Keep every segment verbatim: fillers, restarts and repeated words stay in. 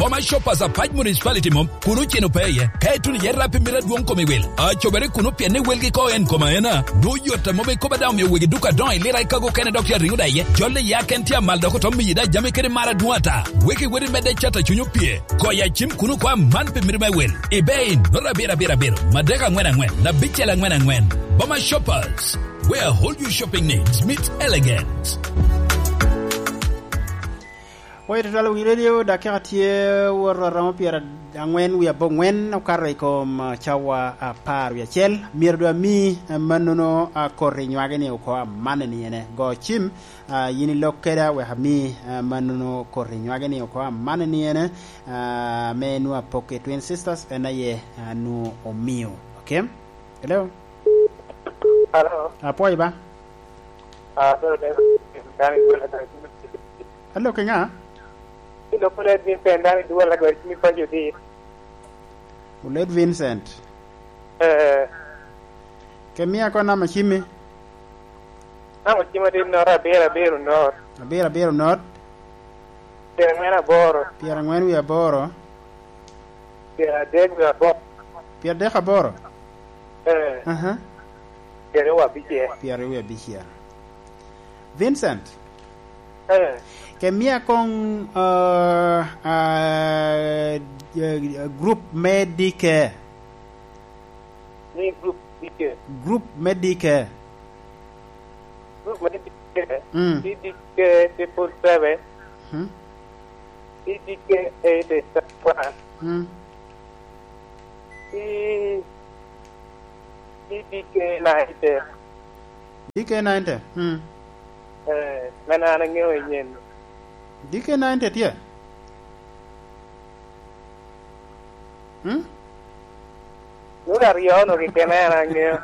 Roma Shoppers Apac Municipality mom, kun oceno pe iye. Ka ituno iye rap i mito adwoŋ kom i wil, acobere kuno pien ni welgi ko en kom aena. Dwoŋ yot a mom ikobo daŋ omio wegi duka adoŋo i lira i kago kene dok ya riŋo da iye. Jolle ya ken tye amal dok otom miyi da jami kede mar adwoŋ ata. Weki weri medde cat a cuny opye. Koya cim kuno kwa man pi mito me wil. I bei, nota abiro abiro abiro, madek aŋwen aŋwen, abicel aŋwen aŋwen. Boma Shoppers, where all your shopping needs meet elegance. Oye tutwal wi radio, dakika tye woto aromo pyera angwen wi aboŋwen okato i kom, ah, cawa apar wi acel. Myero dwe ami, ah, mannono, ah, koti nywage ni oko amanne ni ene. Go cim, ah, yin ilok keda wek ami, ah, mannono koti nywage ni oko amanne ni ene, ah, me nwa pok i Twin Sisters en aye, ah, nu omio. Okay? Hello? Hello? Apwoyo ba? Ah, sorry, sorry. Dani, dani, dani. Hello, kinga? Ilo kule Vincent, dani duwal la gari kimi konyo di. Ulet Vincent. Eh. Ke mia ko nama cimi? Nama cimi di nora abiro, abiro not. Abiro, abiro not. Pyerangwen aboro. Pyerangwen wi aboro. Pyeradek wi aboro. Pyeradek aboro? Eh. Aha. Pyeraryo abicel. Pyeraryo abicel. Vincent. Eh. Ke mia koŋ, uh, uh, uh, group me D K. Ni group D K. Group me D K. Group me D K. Mm. C D K triple seven. Hmm. C D K eight seven one. Hmm. C-, C D K ninety. D K ninety. Hmm. Eh, men an aŋeo i nyen. D K ninety tye? Hmm? Nwoŋo aryo-nu keken en aŋeo.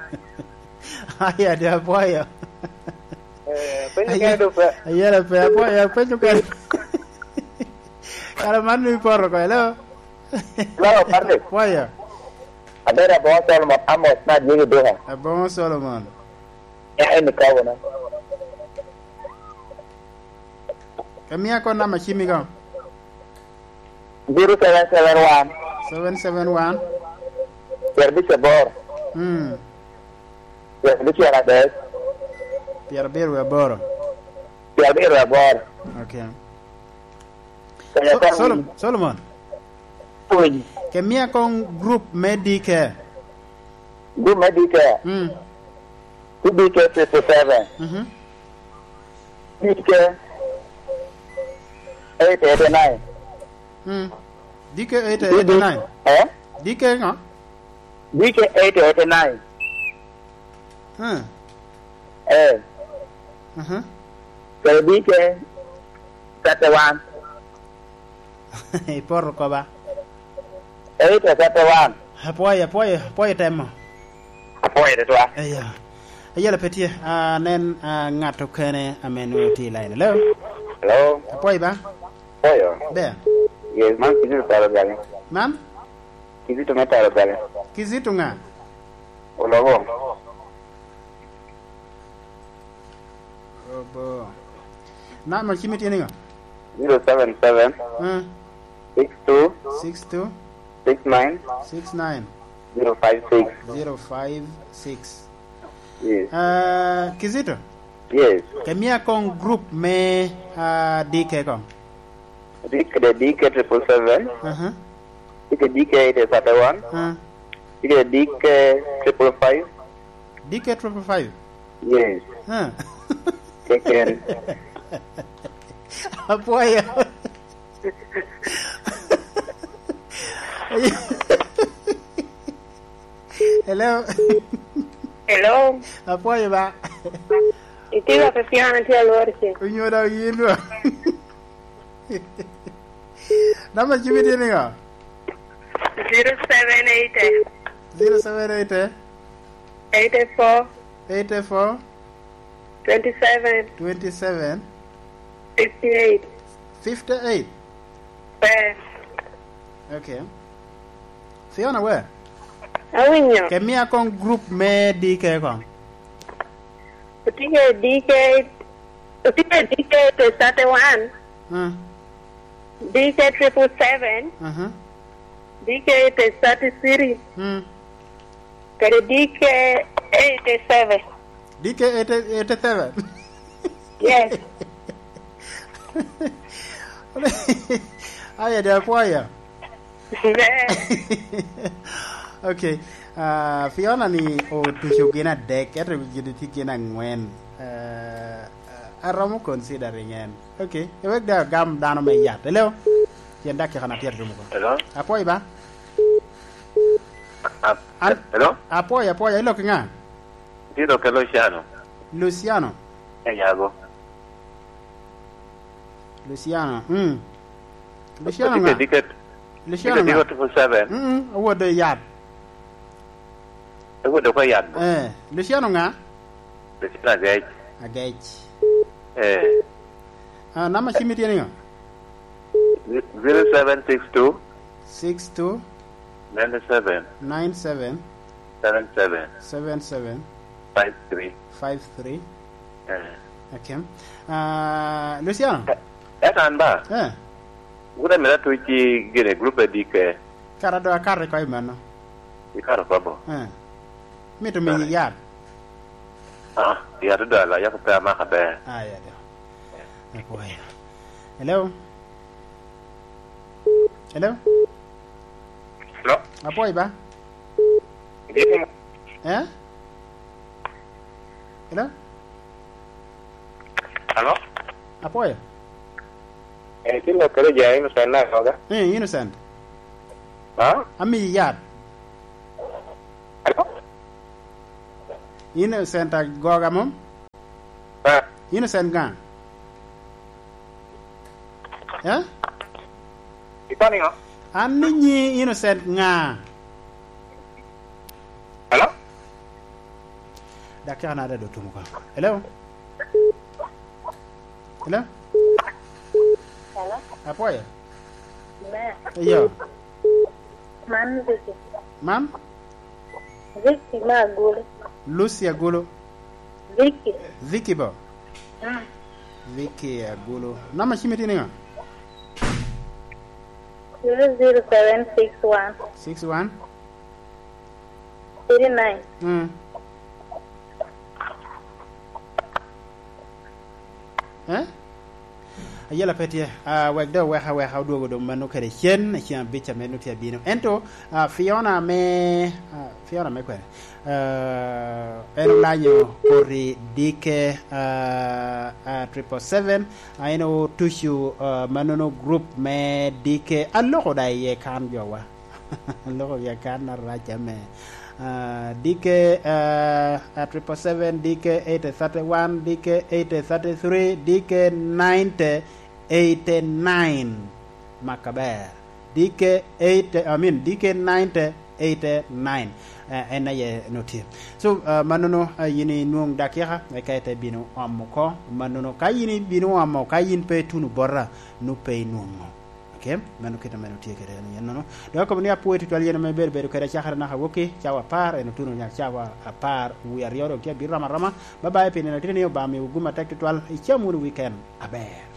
Aya, de apwoyo. Eh, penyo kene do pe. Ayela pe, apwoyo, penyo kene. Kara man ni poto ko, hello? Hello, Patrick. Apwoyo. Abedo Aboŋo Solomon, Amos, na Jimmy Duka. Aboŋo Solomon. Ya, en ikobo na. Ke mia ko namba cimi ko. Zero seven seven one. Seven seven one. Pyerabicel aboro. Hmm. Pyerabicel adek. Pyerabicel aboro. Pyerabicel aboro. Okay. Kaya So-, kong Solom-, Solomon. Pwony. Ke mia kong group me D K. Group me D K. Mm. Two D K fifty-seven. Mhm. D K eight eighty-nine. Mm. D K eight eighty-nine. Eh? D K ŋo? D K eight eighty-nine. Hmm. Eh. Mhm. Kede D K thirty-one. Ipoto koba. Eight thirty-one. Apwoyo, apwoyo, apwoyo temo. Apwoyo tutwal. Eya. Ayela pe tye. Ah, nen, ah, ŋat okene ame nwoŋo tye i line. Hello? Hello? Apwoyo ba? Apwoyo. Ber. Yes, man Kizito Taro Gale. Man? Kizito me Taro Gale. Kizito ŋa? Olobo. Olobo. Namba cimi tye niŋo? Zero seven seven. Eh. Six two. Six two. Six nine. Six nine. Zero five six. Zero five six. Yes. Ah, Kizito? Yes. Ke mia kong group me, ah, D K kong. D K, the D K triple seven. Aha. D K, D K eight thirty-one. Ah. D K, D K triple five. D K triple five? Yes. Ah. Keken. Apwoyo. Hello. Hello. Apwoyo ba. Itye ka pe piana tye alwor ce. Onyo dok yin ba. Namba cimi tye niŋo? Zero seven eight. Zero seven eight. Eight four. Eight four. Twenty seven. Twenty seven. Fifty eight. Fifty eight. Eh. Okay. Fiona, where? Awinyo. Ke mia kong group me D K kong. Otye ke D K, otye ke D K thirty-one. Hmm. D K triple seven, Aha. D K eight thirty-three, Mm. kede D K eighty-seven. D K eighty, eighty-seven. Yes. Aya, de apwoyo. Okay. Ah, Fiona ni otuco gin adek, ento gin tye gin angwen. Ah, aromo considering en. Okay. Ewek de agam dano me yat. Hello? Pien dakika na tye atum oko. Hello? Apwoyo ba? Ah, An-, hello? Apwoyo, apwoyo. Ilok i ŋa? Tye lok i Luciano. Luciano? E yago. Luciano, mm. Luciano ŋa? Dike, dike, Luciano dike, ŋa? Dike triple seven. Mm, mm, owot i yat. Ewot oko i yat bo. Eh, Luciano ŋa? Luciano Agec. Agec. Eh. Ah, namba cim itye niŋo? Zero seven six two. Six two. Nine seven. Nine seven. Seven seven. Seven seven. Five three. Five three. Eh. Okay. Ah, Luciano? Eh, eh, an ba? Eh. Wun amito atuc i gine group adike. Kara do akato iko i mano. Ikato oko bo? Eh. Mito miyi yat? Ah, yat odala, yako pe amaka ber. Ah, ya do. Apwoyo. Hello? Hello? Hello? Apwoyo ba? Yes. Eh? Hello? Hello? Apwoyo. Eh, tin lok kede ja Innocent na koga. Eh, Innocent. Ha? Ami yat. Hello? Innocent agoga mom? Ah. Innocent ŋa? Eh? Ikono niŋo? An ni nyi Innocent ŋa? Hello? Dakika na dado tumo ka. Hello? Hello? Hello? Apwoyo? Me. Iyo. Man Vicky. Man? Vicky me Agulu. Lucy Agulu. Vicky. Vicky bo? Mm. Vicky Agulu. Namba cim itye niŋo? Zero zero seven six one. Six one? Three nine. Mm. Eh? Ayela pe tye. Ah, wek de oweka weka odwogo doŋ mano kede cen, cen abic ame nut tye abino. Ento, ah, Fiona me, ah, Fiona me kwene? Ah, en olanyo koti D K, ah, ah, triple seven, ah, en otuco, ah, manono group me D K aloko da iye kan jowa. Loko gi akan arac ame. Ah, D K, ah, ah, triple seven, D K eight thirty one, D K eight thirty three, D K ninety eighty nine. Maka ber. D K eight, I mean, D K ninety eighty nine. Eh, en aye no tye. So, ah, manono, ah, yin inwoŋ dakika, eka ite bino omo oko. Manono, ka yin ibino omo, ka yin pe ituno bota, nu pe inwoŋo. Okay, mano kit ame tye kede en, yen nono. Dok akobo ni apwoyo tutwal yen ame ibedo bedo kede acakere naka wokki, cawa apar, en otuno nyak cawa apar, wie aryo dok tye abiro rom aroma. Bye bye, pi nino titini, Obaŋa miwu gum atek tutwal, icam wunu weekend aber.